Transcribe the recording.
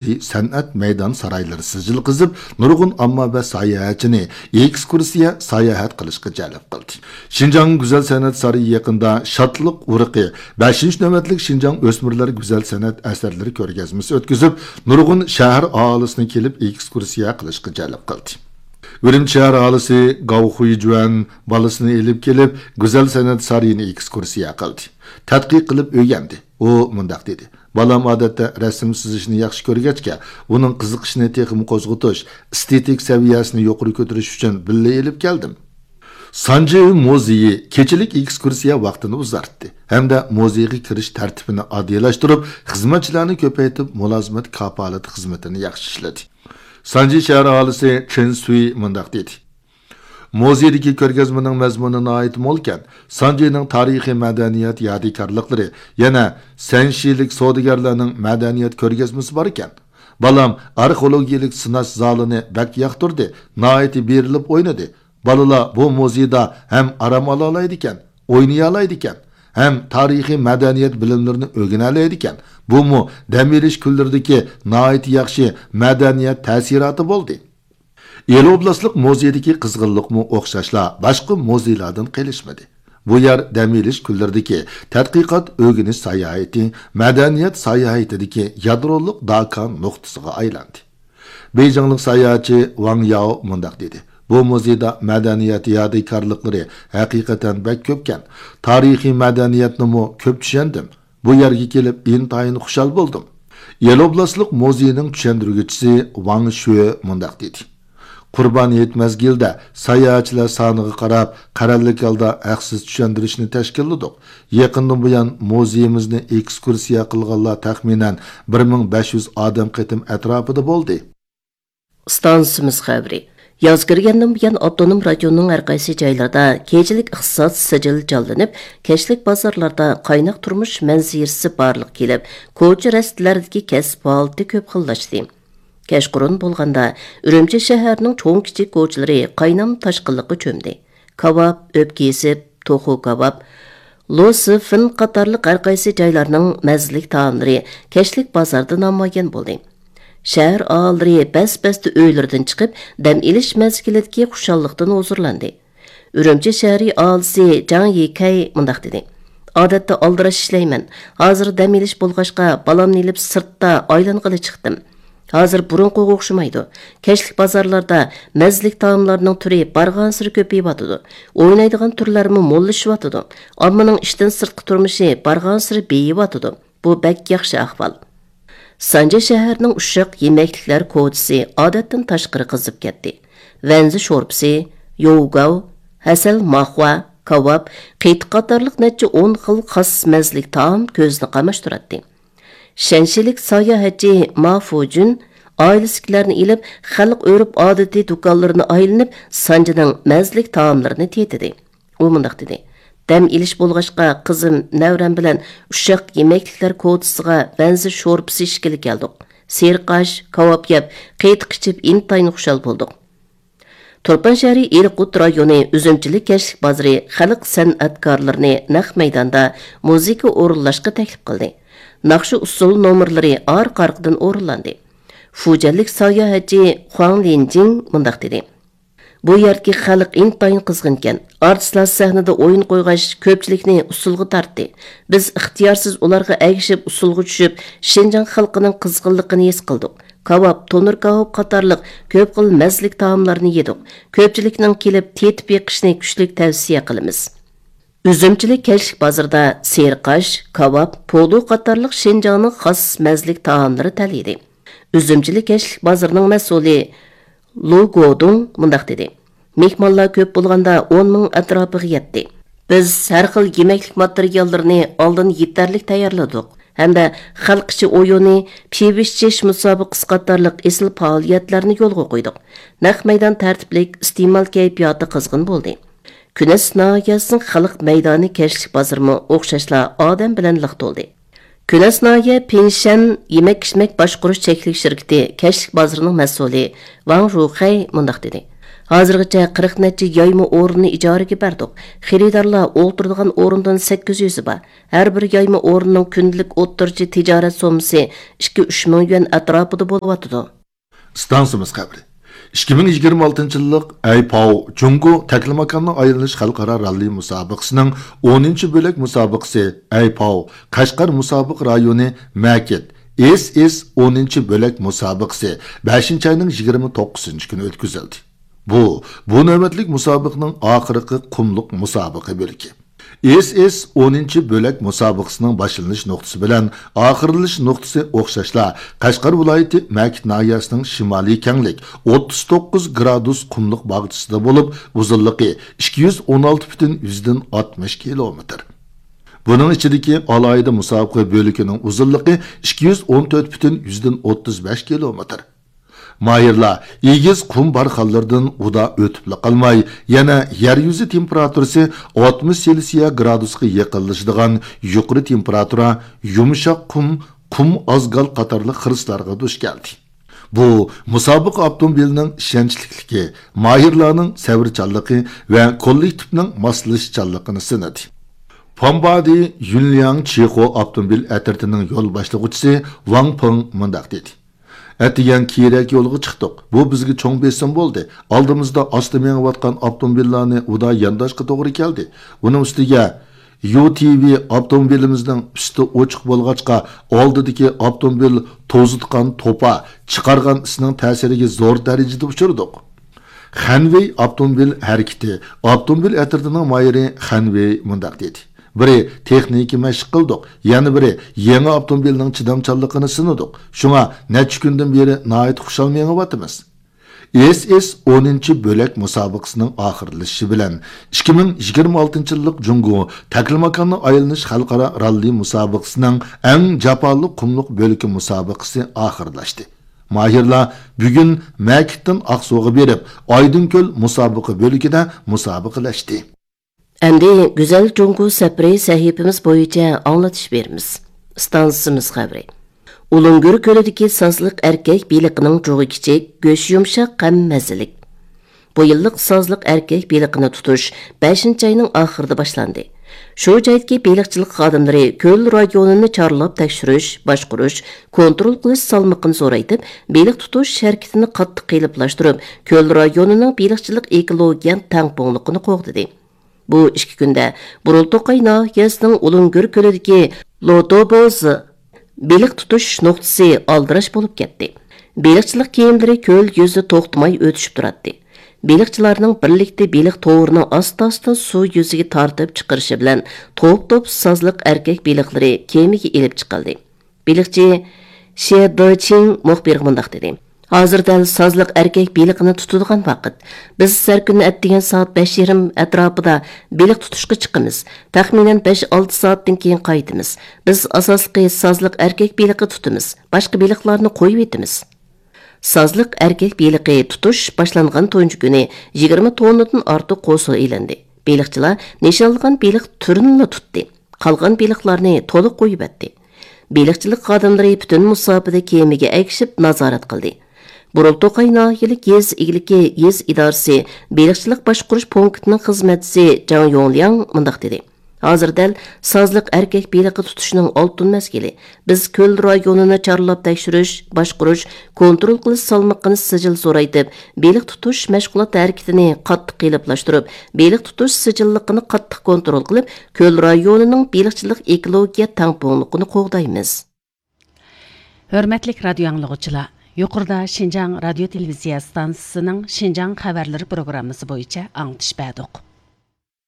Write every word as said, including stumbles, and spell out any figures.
سەنئەت مەيدان سارايلىرى سىجىل قېزىپ، نۇرغۇن ئامما ۋە ساياھەتچىنى ئېكسكۇرسىيە ساياھەت قىلىشقا جەلپ قىلدى. شىنجاڭ گۈزەل سەنئەت سارىيى يېقىندا شادلىق ئۇرۇقى بەشىنچى نۆۋەتلىك شىنجاڭ ئۆسمۈرلەر گۈزەل سەنئەت ئەسەرلىرى كۆرگەزمىسى ئۆتكۈزۈپ، نۇرغۇن شەھەر ئاھالىسىنى كېلىپ ئېكسكۇرسىيە قىلىشقا جەلپ قىلدى. ئۈرۈمچى شەھەر ئاھالىسى گاۋ خۇيجۈەن بالىسىنى ئېلىپ كېلىپ، گۈزەل سەنئەت سارىيىنى ئېكسكۇرسىيە قىلدى. تەتقىق قىلىپ ئۆگەندى. ئۇ مۇنداق دېدى: بالام ئادەتتە رەسىم سىزىشنى ياخشى كۆرگەچكە، ئۇنىڭ قىزىقىشىنى تېخىمۇ قوزغىتىش، ئېستېتىك سەۋىيەسىنى يۇقىرى كۆتۈرۈش ئۈچۈن بىللە ئېلىپ كەلدىم. سانجى مۇزېيى كېچىلىك ئېكسكۇرسىيە ۋاقتىنى ئۇزارتتى ھەمدە مۇزېيغا كىرىش تەرتىپىنى ئاددىيلاشتۇرۇپ، خىزمەتچىلەرنى كۆپەيتىپ، مۇلازىمەت كاپالىتى خىزمىتىنى ياخشى ئىشلىدى. سانجى شەھەر ئاھالىسى چېن سۈي مۇنداق دېدى: مۇزېيدىكى كۆرگەزمىنىڭ مەزمۇنى ناھايىتى مولكەن. سانجىنىڭ تارىخىي مەدەنىيەت يادىكارلىقلىرى، يەنە سەنشىلىك سودىگەرلەرنىڭ مەدەنىيەت كۆرگەزمىسى باركەن. بالام ئارخېئولوگىيەلىك سىناش زالىنى بەك ياقتۇردى، ناھايىتى بېرىلىپ ئوينىدى. بالىلار بۇ مۇزېيدا ھەم ئارام ئالالايدىكەن، ئوينىيالايدىكەن، ھەم تارىخىي مەدەنىيەت بىلىملىرىنى ئۆگىنەلەيدىكەن. بۇمۇ دەم ئېلىش كۈنلىرىدىكى ناھايىتى ياخشى مەدەنىيەت تەسىراتى بولدى. ئىلى ئوبلاستلىق مۇزېيدىكى قىزغىنلىقمۇ ئوخشاشلا باشقا مۇزېيلاردىن قېلىشمىدى. بۇ يەر دەم ئېلىش كۈنلىرىدىكى تەتقىقات ئۆگىنىش ساياھىتى، مەدەنىيەت ساياھىتىدىكى يادرولۇق داكان نۇقتىسىغا ئايلاندى. بېيجىڭلىق ساياھەتچى ۋاڭ ياۋ مۇنداق دېدى: بۇ مۇزېيدا مەدەنىيەت يادىكارلىقلىرى ھەقىقەتەن بەك كۆپكەن. تارىخىي مەدەنىيەتنىمۇ كۆپ چۈشەندىم. بۇ يەرگە كېلىپ ئىنتايىن خۇشال بولدۇم. يەلوبلاستلىق مۇزېيىنىڭ چۈشەندۈرگۈچىسى ۋاڭ شۈې مۇنداق دېدى: قۇربان ھېيت مەزگىلىدە ساياھەتچىلەر سانىغا قاراپ، قەرەللىك ھالدا ھەقسىز چۈشەندۈرۈشنى تەشكىللىدۇق. يېقىندىن بۇيان مۇزېيىمىزنى ئېكسكۇرسىيە قىلغانلار تەخمىنەن بىر مىڭ بەش يۈز ئادەم قېتىم ئەتراپىدا بولدى. ئىستانسىمىز خەۋىرى. ياز كىرگەندىن بۇيان، ئاپتونوم رايوننىڭ ھەر قايسى جايلىرىدا كېچىلىك ئىقتىساد سىجىل جانلىنىپ، كەچلىك بازارلاردا قايناق تۇرمۇش مەنزىرىسى بارلىققا كېلىپ، كوچا رەستىلەردىكى كەسىپ ھالىتى كۆپ خىللاشتى. كەچقۇرۇن بولغاندا، ئۈرۈمچى شەھىرىنىڭ چوڭ-كىچىك كوچىلىرى قاينام تاشقىنلىققا چۆمدى. كاۋاپ، ئۆپكە ئېسىپ، توخۇ كاۋاپ، لو سىفىن قاتارلىق ھەر قايسى جايلارنىڭ مەززىلىك تائاملىرى كەچلىك بازاردا نامايان بولدى. شەھەر ئاھالىلىرى بەس-بەستە ئۆيلىرىدىن چىقىپ، دەم ئېلىش مەزگىلىدىكى خۇشاللىقتىن ھۇزۇرلاندى. ئۈرۈمچى شەھىرى ئاھالىسى جاڭ يىكەي مۇنداق دېدى: ئادەتتە ئالدىراش ئىشلەيمەن. ھازىر دەم ئېلىش بولغاچقا، بالامنى ئېلىپ سىرتتا ئايلانغىلى چىقتىم. ھازىر بۇرۇنقىغا ئوخشىمايدۇ. كەچلىك بازارلاردا مەززىلىك تائاملارنىڭ تۈرى بارغانسېرى كۆپىيىۋاتىدۇ. ئوينايدىغان تۈرلەرمۇ موللىشىۋاتىدۇ. ئاممىنىڭ ئىشتىن سىرتقى تۇرمۇشى بارغانسېرى بېيىۋاتىدۇ. بۇ بەك ياخشى ئەھۋال. سانجى شەھىرىنىڭ ئۇششاق يېمەكلىكلەر كوچىسى ئادەتتىن تاشقىرى قىزىپ كەتتى. ۋەنزى شورپىسى، يوۋگاۋ، ھەسەل ماخوا، كاۋاپ، قېتىق قاتارلىق نەچچە ئون خىل خاس مەززىلىك تائام كۆزنى قاماشتۇراتتى. شەنشىلىك ساياھەتچى ما فۇجۈن ئائىلىسىدىكىلەرنى ئېلىپ، خەلق ئۆرپ-ئادىتى دۇكانلىرىنى ئايلىنىپ، سانجىنىڭ مەززىلىك تائاملىرىنى تېتىدى. ئۇ مۇنداق دېدى: دەم ئېلىش بولغاچقا، قىزىم، نەۋرەم بىلەن ئۇششاق يېمەكلىكلەر كوچىسىغا ۋەنزى شورپىسى ئىچكىلى كەلدۇق. سېرىق ئاش، كاۋاپ يەپ، قېتىق ئىچىپ، ئىنتايىن خۇشال بولدۇق. تۇرپان شەھىرى ئېلقۇت رايونى ئۈزۈمچىلىك كەچلىك بازىرى خەلق سەنئەتكارلىرىنى نەق مەيداندا مۇزىكا ئورۇنلاشقا تەكلىپ قىلدى. ناخشا-ئۇسسۇل نومۇرلىرى ئارقا-ئارقىدىن ئورۇنلاندى. فۇجەنلىك ساياھەتچى خۇاڭ لىنجىڭ مۇنداق دېدى: بۇ يەردىكى خەلق ئىنتايىن قىزغىنكەن. ئارتىسلار سەھنىدە ئويۇن قويغاچ، كۆپچىلىكنى ئۇسسۇلغا تارتتى. بىز ئىختىيارسىز ئۇلارغا ئەگىشىپ ئۇسسۇلغا چۈشۈپ، شىنجاڭ خەلقىنىڭ قىزغىنلىقىنى ھېس قىلدۇق. كاۋاپ، تونۇر كاۋاپ قاتارلىق كۆپ خىل مەززىلىك تائاملارنى يېدۇق. كۆپچىلىكنىڭ كېلىپ تېتىپ بېقىشىنى كۈچلۈك تەۋسىيە قىلىمىز. ئۈزۈمچىلىك كەچلىك بازىرىدا سېرىق ئاش، كاۋاپ، پولۇ قاتارلىق شىنجاڭنىڭ خاس مەززىلىك تائاملىرى تەلىيىدى. ئۈزۈمچىلىك كەچلىك بازىرىنىڭ مەسئۇلى لۇ گودۇڭ مۇنداق دېدى: مېھمانلار كۆپ بولغاندا ئون مىڭ ئەتراپىغا يەتتى. بىز ھەر خىل يېمەكلىك ماتېرىياللىرىنى ئالدىن يېتەرلىك تەييارلىدۇق ھەمدە خەلق ئىچى ئويۇنى، پىۋىشچىش مۇسابىقىسى قاتارلىق ئېسىل پائالىيەتلەرنى يولغا قويدۇق. نەق مەيدان تەرتىپلىك، ئىستېمال كەيپىياتى قىزغىن بولدى. كۈنەس ناھىيەسىنىڭ خەلق مەيدانى كەچلىك بازىرىمۇ ئوخشاشلا ئادەم بىلەن لىق تولدى. كۈنەس ناھىيە پىنشەن يېمەك-ئىچمەك باشقۇرۇش چەكلىك شىركىتى كەچلىك بازىرىنىڭ مەسئۇلى ۋاڭ رۇخەي مۇنداق دېدى: ھازىرغىچە قىرىق نەچچە يايما ئورۇننى ئىجارىگە بەردۇق. خېرىدارلار ئولتۇرىدىغان ئورۇندىن سەككىز يۈزى بار. ھەر بىر يايما ئورۇننىڭ كۈندىلىك ئوتتۇرىچە تىجارەت سوممىسى ئىككى، ئۈچ مىڭ يۈەن ئەتراپىدا بولۇۋاتىدۇ. ئىستانسىمىز خەۋىرى. ئىككى مىڭ يىگىرمە ئالتىنچى يىللىق ئەيپاۋ جۇڭگو تەكلىماكاننىڭ ئايلىنىش خەلقئارا راللى مۇسابىقىسىنىڭ ئونىنچى بۆلەك مۇسابىقىسى، ئەيپاۋ قەشقەر مۇسابىقە رايونى مەكىت، ئېس ئېس ئونىنچى بۆلەك مۇسابىقىسى بەشىنچى ئاينىڭ يىگىرمە توققۇزىنچى كۈنى ئۆتكۈزۈلدى. بۇ، بۇ نۆۋەتلىك مۇسابىقىنىڭ ئاخىرقى قۇملۇق مۇسابىقە بۆلىكى. ئېس ئېس ئونىنچى بۆلەك مۇسابىقىسىنىڭ باشلىنىش نۇقتىسى بىلەن ئاخىرلىنىش نۇقتىسى ئوخشاشلا، قەشقەر ۋىلايىتى مەكىت ناھىيەسىنىڭ شىمالىي كەڭلىك ئوتتۇز توققۇز گرادۇس قۇملۇق باغچىسىدا بولۇپ، ئۇزۇنلۇقى ئىككى يۈز ئون ئالتە پۈتۈن يۈزدىن ئاتمىش كىلومېتىر. بۇنىڭ ئىچىدىكى ئالاھىدە مۇسابىقە بۆلىكىنىڭ ئۇزۇنلۇقى ئىككى يۈز ئون تۆت پۈتۈن يۈزدىن ئوتتۇز بەش كىلومېتىر. ماھىرلار ئېگىز قۇم بارخانلىرىدىن ئۇدا ئۆتۈپلا قالماي، يەنە يەر يۈزى تېمپېراتۇرىسى ئاتمىش سېلسىيە گرادۇسقا يېقىنلىشىدىغان يۇقىرى تېمپېراتۇرا، يۇمشاق قۇم، قۇم ئازگال قاتارلىق خىرىسلارغا دۇچ كەلدى. بۇ مۇسابىقە ئاپتوموبىلنىڭ ئىشەنچلىكلىكى، ماھىرلارنىڭ سەۋرچانلىقى ۋە كوللېكتىپنىڭ ماسلىشىشچانلىقىنى سىنىدى. پامبادى يۈنلياڭ چىخو ئاپتوموبىل ئەترىتىنىڭ يول باشلىغۇچىسى ۋاڭ پېڭ مۇنداق دېدى: ئەتىگەن كېيىنرەك يولغا چىقتۇق. بۇ بىزگە چوڭ بېسىم بولدى. ئالدىمىزدا ئاستا مېڭىۋاتقان ئاپتوموبىللارنى ئۇدا يانداشقا توغرا كەلدى. ئۇنىڭ ئۈستىگە يۇ تى ۋى ئاپتوموبىلىمىزنىڭ ئۈستى ئوچۇق بولغاچقا، ئالدىدىكى ئاپتوموبىل توزۇتقان توپا چىقارغان ئىسنىڭ تەسىرىگە زور دەرىجىدە ئۇچرىدۇق. خەنۋېي ئاپتوموبىل ھەرىكىتى ئاپتوموبىل ئەترىتىنىڭ ماھىرى خەنۋېي مۇنداق دېدى: بىرى تېخنىكا مەشىق قىلدۇق، يەنە بىرى يېڭى ئاپتوموبىلنىڭ چىدامچانلىقىنى سىنىدۇق. شۇڭا نەچچە كۈندىن بېرى ناھايىتى خۇشال مېڭىۋاتىمىز. ئېس ئېس ئونىنچى بۆلەك مۇسابىقىسىنىڭ ئاخىرلىشىشى بىلەن، ئىككى مىڭ يىگىرمە ئالتىنچى يىللىق جۇڭگو تەكلىماكاننى ئايلىنىش خەلقئارا راللى مۇسابىقىسىنىڭ ئەڭ جاپالىق قۇملۇق بۆلىكى مۇسابىقىسى ئاخىرلاشتى. ماھىرلار بۈگۈن مەكىتتىن ئاقسۇغا بېرىپ، ئايدىڭكۆل مۇسابىقە بۆلىكىدە مۇسابىقىلەشتى. ئەمدى گۈزەل جۇڭگو سەپىرى سەھىپىمىز بويىچە ئاڭلىتىش بېرىمىز. ئىستانسىمىز خەۋىرى. ئۇلۇڭگۈر كۆلىدىكى سازلىق ئەركەك بېلىقىنىڭ جۇغى كىچىك، گۆشى يۇمشاق ھەم مەززىلىك. بۇ يىللىق سازلىق ئەركەك بېلىقىنى تۇتۇش بەشىنچى ئاينىڭ ئاخىرىدا باشلاندى. شۇ جايدىكى بېلىقچىلىق خادىملىرى كۆل رايونىنى چارلاپ تەكشۈرۈش، باشقۇرۇش، كونترول قىلىش سالمىقىنى زورايتىپ، بېلىق تۇتۇش ھەرىكىتىنى قاتتىق قېلىپلاشتۇرۇپ، كۆل رايونىنىڭ بېلىقچىلىق ئېكولوگىيە تەڭپۇڭلۇقىنى قوغدىدى. بۇ ئىككى كۈندە بۇرۇلتوقاي ناھىيەسىنىڭ ئۇلۇڭگۈر كۆلىدىكى لوتوبوز بېلىق تۇتۇش نۇقتىسى ئالدىراش بولۇپ كەتتى. بېلىقچىلىق كېمىلىرى كۆل يۈزىدە توختىماي ئۆتۈشۈپ تۇراتتى. بېلىقچىلارنىڭ بىرلىكتە بېلىق تورىنى ئاستا-ئاستا سۇ يۈزىگە تارتىپ چىقىرىشى بىلەن توپ-توپ سازلىق ئەركەك بېلىقلىرى كېمىگە ئېلىپ چىقىلدى. بېلىقچى شې دېچىڭ مۇخبىرغا مۇنداق دېدى: ھازىر دەل سازلىق ئەركەك بېلىقىنى تۇتىدىغان ۋاقىت. بىز ھەر كۈنى ئەتىگەن سائەت بەش يېرىم ئەتراپىدا بېلىق تۇتۇشقا چىقىمىز. تەخمىنەن بەش-ئالتە سائەتتىن كېيىن قايتىمىز. بىز ئاساسلىقى سازلىق ئەركەك بېلىقى تۇتىمىز. باشقا بېلىقلارنى قويۇۋېتىمىز. سازلىق ئەركەك بېلىقى تۇتۇش باشلانغان تۇنجى كۈنى يىگىرمە توننىدىن ئارتۇق قوسۇل ئېلىندى. بېلىقچىلار نىشانلىغان بېلىق تۈرىنىلا تۇتتى. قالغان بېلىقلارنى تولا قويۇۋەتتى. بېلىقچىلىق خادىملىرى پۈتۈن مۇساپىدە كېمىگە ئەگىشىپ نازارەت قىلدى. بۇرۇلتوقاي ناھىيەلىك يېزا ئىگىلىكى يېزا ئىدارىسى بېلىقچىلىق باشقۇرۇش پونكىتىنىڭ خىزمەتچىسى جاڭ يوڭلياڭ مۇنداق دېدى: ھازىر دەل سازلىق ئەركەك بېلىقى تۇتۇشنىڭ ئالتۇن مەزگىلى. بىز كۆل رايونىنى چارلاپ تەكشۈرۈش، باشقۇرۇش، كونترول قىلىش سالمىقىنى سىجىل زورايتىپ، بېلىق تۇتۇش مەشغۇلات ھەرىكىتىنى قاتتىق قېلىپلاشتۇرۇپ، بېلىق تۇتۇش سىجىللىقىنى قاتتىق كونترول قىلىپ، كۆل رايونىنىڭ بېلىقچىلىق ئېكولوگىيە تەڭپۇڭلۇقىنى قوغدايمىز. ھۆرمەتلىك رادىيو ئاڭلىغۇچىلار، يۇقىرىدا شىنجاڭ رادىيو تېلېۋىزىيە ئىستانسىسىنىڭ شىنجاڭ خەۋەرلىرى پروگراممىسى بويىچە ئاڭلىتىش بەردۇق.